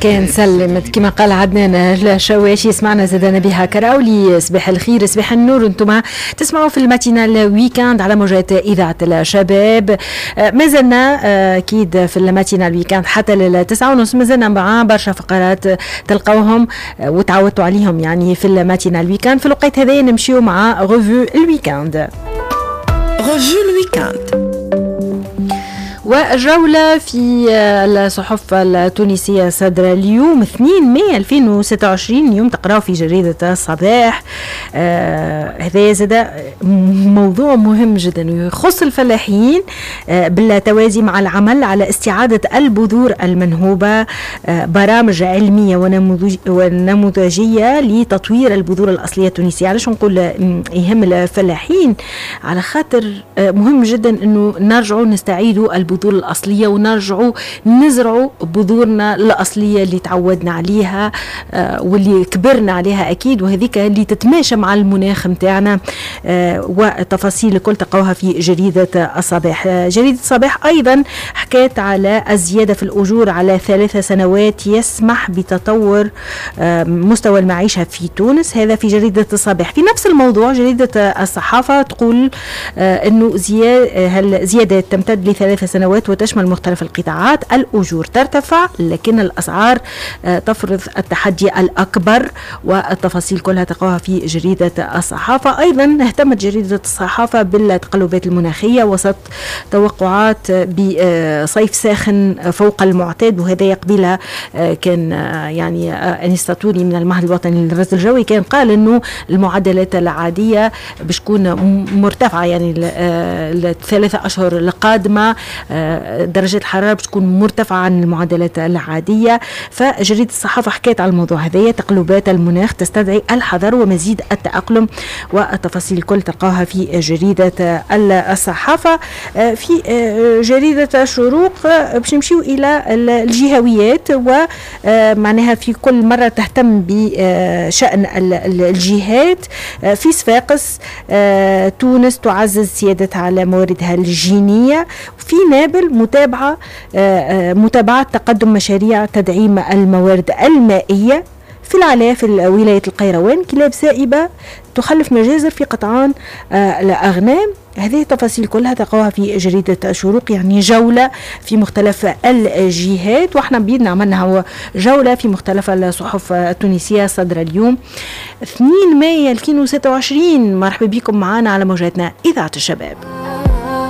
كان سلمت كما قال عدنان الشواشي. سمعنا زاد نبيها كراولي، صباح الخير صباح النور. انتم تسمعوا في ال matinale week-end على موجات اذاعة الشباب. ما زلنا اكيد في ال matinale week-end حتى 9:30، مازلنا مع برشا فقرات تلقوهم وتعودتوا عليهم يعني في ال matinale week-end. في الوقت هذا نمشيو مع revue ال week-end. revue ال week-end. وجولة في الصحف التونسية صدر اليوم 2 ماي 2026، اليوم تقراو في جريدة الصباح. هذا زاد موضوع مهم جدا يخص الفلاحين، بالتوازي مع العمل على استعادة البذور المنهوبة، برامج علمية ونموذجية لتطوير البذور الأصلية التونسية. علاش نقول يهم الفلاحين؟ على خاطر مهم جدا أنه نرجعوا نستعيدوا البذور الأصلية ونرجعوا نزرعوا بذورنا الأصلية اللي تعودنا عليها واللي كبرنا عليها أكيد، وهذيك اللي تتماشى مع المناخ متاعنا. والتفاصيل الكل تلقوها في جريدة الصباح. جريدة الصباح أيضا حكات على الزيادة في الأجور على 3 سنوات يسمح بتطور مستوى المعيشة في تونس، هذا في جريدة الصباح. في نفس الموضوع جريدة الصحافة تقول أنه زيادة تمتد ل3 سنوات وتشمل مختلف القطاعات، الأجور ترتفع لكن الأسعار تفرض التحدي الأكبر، والتفاصيل كلها تقراها في جريدة الصحافة. أيضا اهتمت جريدة الصحافة بالتقلبات المناخية وسط توقعات بصيف ساخن فوق المعتاد، وهذا قبيلة كان يعني أنيس تطوري من المعهد الوطني للرصد الجوي كان قال أنه المعدلات العادية باش تكون مرتفعة، يعني ال3 أشهر القادمة درجة الحرارة باش تكون مرتفعة عن المعدلات العادية. فجريدة الصحافة حكيت على الموضوع هذايا، تقلبات المناخ تستدعي الحذر ومزيد التأقلم، والتفاصيل الكل تلقاها في جريدة الصحافة. في جريدة الشروق باش نمشيو إلى الجهويات، ومعناها في كل مرة تهتم بشأن الجهات. في صفاقس تونس تعزز سيادتها على مواردها الجينية. في نابل متابعة تقدم مشاريع تدعيم الموارد المائية. في العلاء في ولاية القيروان كلاب سائبة تخلف مجازر في قطعان الأغنام. هذه التفاصيل كلها تلقاوها في جريدة الشروق، يعني جولة في مختلف الجهات، واحنا بيدنا عملنا هو جولة في مختلف الصحف التونسية صدر اليوم 2 ماي 2026. مرحبا بكم معنا على موجاتنا إذاعة الشباب.